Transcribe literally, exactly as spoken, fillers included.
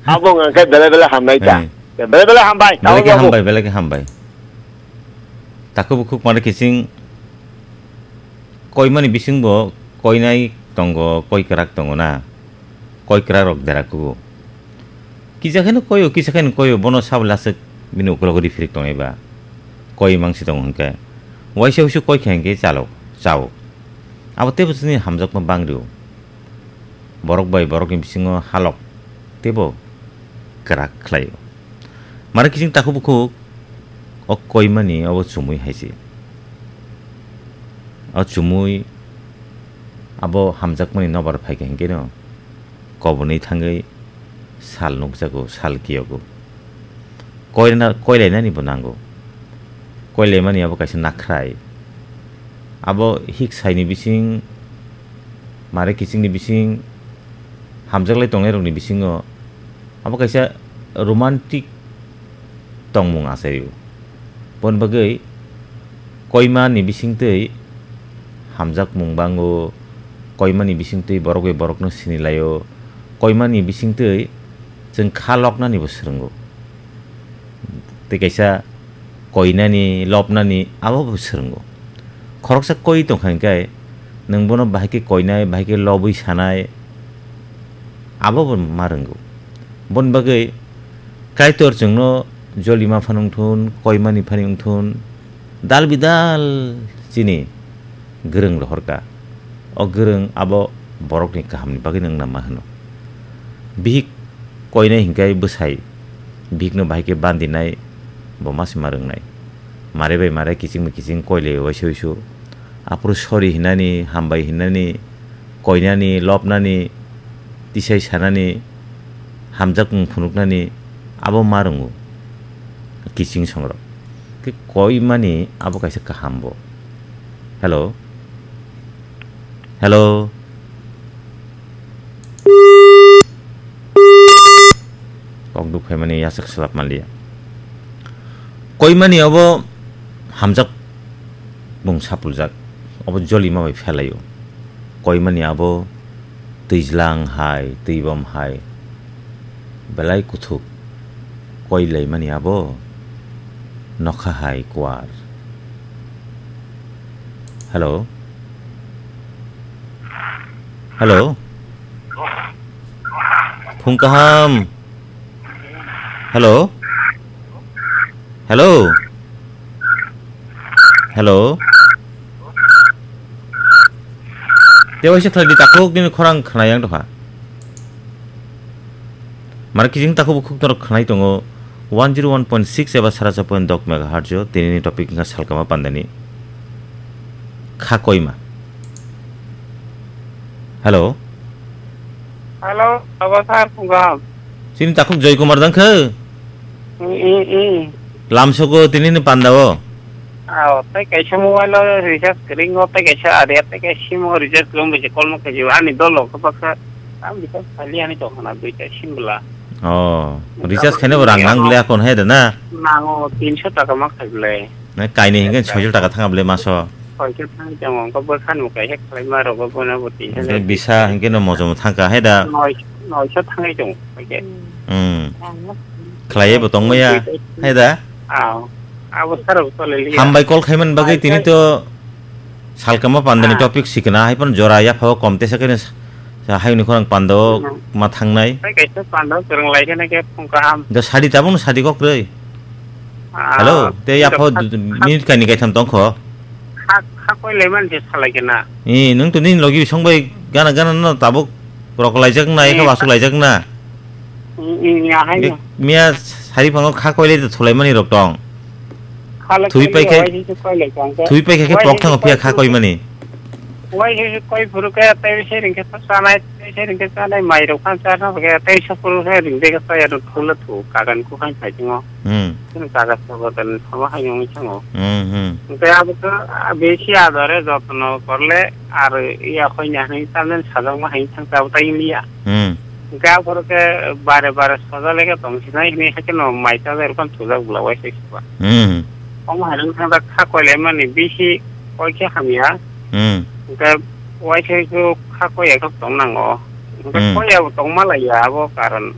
Abo wngkha belai belai hamnai ta. Hai. Belai belai hambai, belai khe tamo hambai, belai khe hambai. Takhuk bukhuk mare kiching koimani bisingbo koinai tongo, koi kwrak tongo na. Koi kwrak rok dera kugo. Kisa kheno koio, kisa kheno koio, bono sabo laswk bini ukulok riphirik tongnai ba. Koi mangsi tongo hwnkhe. Waisa wuisu koi kha hwnkhe chalo, chao. Abo teibo chini hamjakma bangrio. Borok bai borokni bisingo halok teibo kwrak khlaio. Mare kiching takhuk bukhuk o koimani obo chumui hai se. O chumui abo hamjakmani nobar phaikha hinkhe no kobonwi thangwi sal nukjago, sal kiyogo. Koirna-, koilainani bo nango. Koilaimani abo kaisa nakhrai. Abo hik saini bising, mare kichingni bising, hamjaklai tongnairokni bisingo abo kaisa romantic tongmung achaio. Boni bagwi koimani bisingtwi hamjakmung bango, koimani bisingtwi borok bai borokno sinilaio, koimani bisingtwi chwng kha loknanibo swrwngo. Tei kaisa koinani, lobnani abobo swrwngo. Khoroksa koi tongkha hinkhe nwng bono bahai khe koinai, bahai khe lobwi sanai, abobo ma rwngo. Boni bagwi Kaitor chwngno jolima phano wngthun, koimani phano wngthun, dal bidal chini gwrwng rohorkha. O gwrwng abo borokni kahamni bagwino wngna ma hwno. Bihik koinai hinkhe bwsai bihikno bahai khe bandinai bo ma se ma rwngnai. Mare bai mare kiching bai kiching koilai waisa wuisu. Aphuru sorry hinani, hambai hinani, koinani, lobnani, tisai sanani, hamjakmung phunuknani abo ma rwngo kiching songrok. Khe koimani abo kaisa kaham bo. Hello? Hello? Kok duk phaimani yachak swlap manliya. Koimani abo hamjakmung sapuljak, abo jolima bai phelaio. Koimani abo twijlang hai, twibom hai, belai kuthuk koilaimani abo nokha hai kuar. Hello? Hello? Phung kaham. Hello? Hello? Hello? Tei waisa khlai di takhuk, nini khorang khna yang tongkha. Mara kijing takhuk bukhuk norok khnai tongo one zero one point six eba saracha point dok megahertz o, tinini topic wngkha salkama pandani kha koima. Hello. Hello, abo sir, phung kaham. Chini takhuk Joy Kumar dang khe? Mm, mm, mm. Lamsoko tinini pandao. Aw, tei kaisa mobile o recharge kwrwi wngo, tei kaisa area, tei kaisa sim o recharge kwrwi wngwi se call ma khaijio. Ani dolo khe baksa, tam recharge khali ani tong khna duita sim bwla. Oh, recharge khaina bo rang nang le akon hai da na? Nango, tinso taka ma khai bwle. Na kainwi hingke soiso taka thanga bwle maso. Soiso thang jang wngkha bwkha no kaisa khlai ma rogo bono bo tinso. Hingke bisa hingke no mojomo thangka hai da. Noi, noisa thangwi tongo, hingke. Hmm. Khlaiye bo tongmaya, hai da? Aw. Abo sara bo tole liya. Hambai call khaimani bagwi tini to salkama pandani topic sikna, hai phano jora yapha o kom tesa khe sa hayungni khorang pando ma thangnai. Tei kaisa pando kwrwng lai khe na khe phung kaham. Da sadi tabuk no sadi kok rwi. Hello, tei yapha o minute kaini kaitham tongkho. Kha, kha koi lai man se salai khe na. Ni, nwng to nini logi bisong bai gana gana no tabuk rok laijak na, ekha wasuk laijak na. Ni, ni, ni, ahai no. Miya sari phango kha koilai da thulaimani rok tong. Kha lai Thui koi paikhe, lai, wai se koi lai kang khe. Thui paikhe khe pok thango phiya kha koimani. Wai se koi phuru khe tei se ring khe chanai, tei se ring khe chanai mai rok khan charna khe tei se phuru khe ring de khe chaya rok thula thu kagan ku khan phai thingo. Hmm. Chini kaga sobo dan thama hai nung chango. Hmm, hmm. Tei abo khe besi adore jotno korle ar iya khoi nya hini tamlen sajak ma hai thang ta tai liya. Hmm. Ga phoro khe bare bare soja lege tong sinai hini hakhe no mai ta ber kon thujak bwla wai se siba. Hmm. Omo hai wng thang da kha koi lai mani bisi koi khe hamya. Hmm. Ga wai se ko kha koi ya kok tong nango. Ga Hmm. koi ya tong ma lai ya abo karon.